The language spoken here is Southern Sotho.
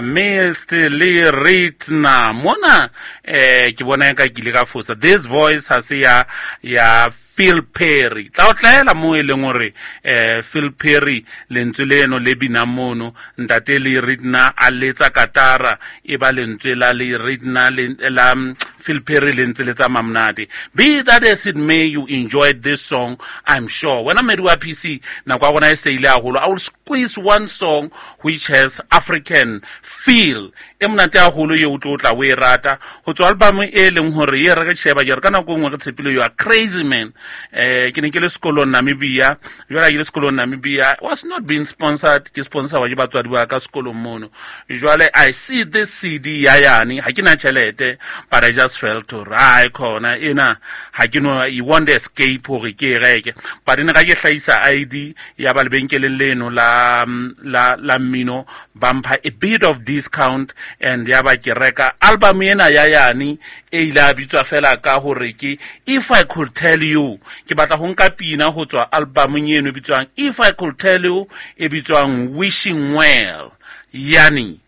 Mist le Ritna mona ke bona ka ke ile ka fosa. This voice ha se ya Phil Perry. Tla o tlaela mo e leng hore Phil Perry lentswe leno le binang mono, ntate le Ritna a letsa katara, e ba lentswe la le Ritna la Phil Perry le ntse le tsamaya monate. Be that as it may, you enjoyed this song, I'm sure. Wena mmedi wa PC, nako ya rona e se ile haholo. I will squeeze one song which has African feel e monate haholo ye o tlo tla o e rata ho tswa album e leng hore e re re sheba ke re ka nako e nngwe re tshepile you are crazy man. Ke ne ke le sekolong Namibia, jwale ke le sekolong Namibia, was not being sponsored, ke sponsor wa ke batswadi ba ka sekolong mono. Jwale I see this CD ya yane, ha ke na tjhelete, but I just felt hore ai khona ena ha ke no, you want to escape hore ke e reke, but ne ga ke hlahisa ID ya ba lebenkeleng leno la mmino, ba mpha a bit of discount, and ya ba ke reka album ena ya yane e ile a bitswa fela ka hore ke If I Could Tell You. Ke batla ho nka pina ho tswa albumeng eno e bitswang If I Could Tell You, e bitswang Wishing Well. Yani.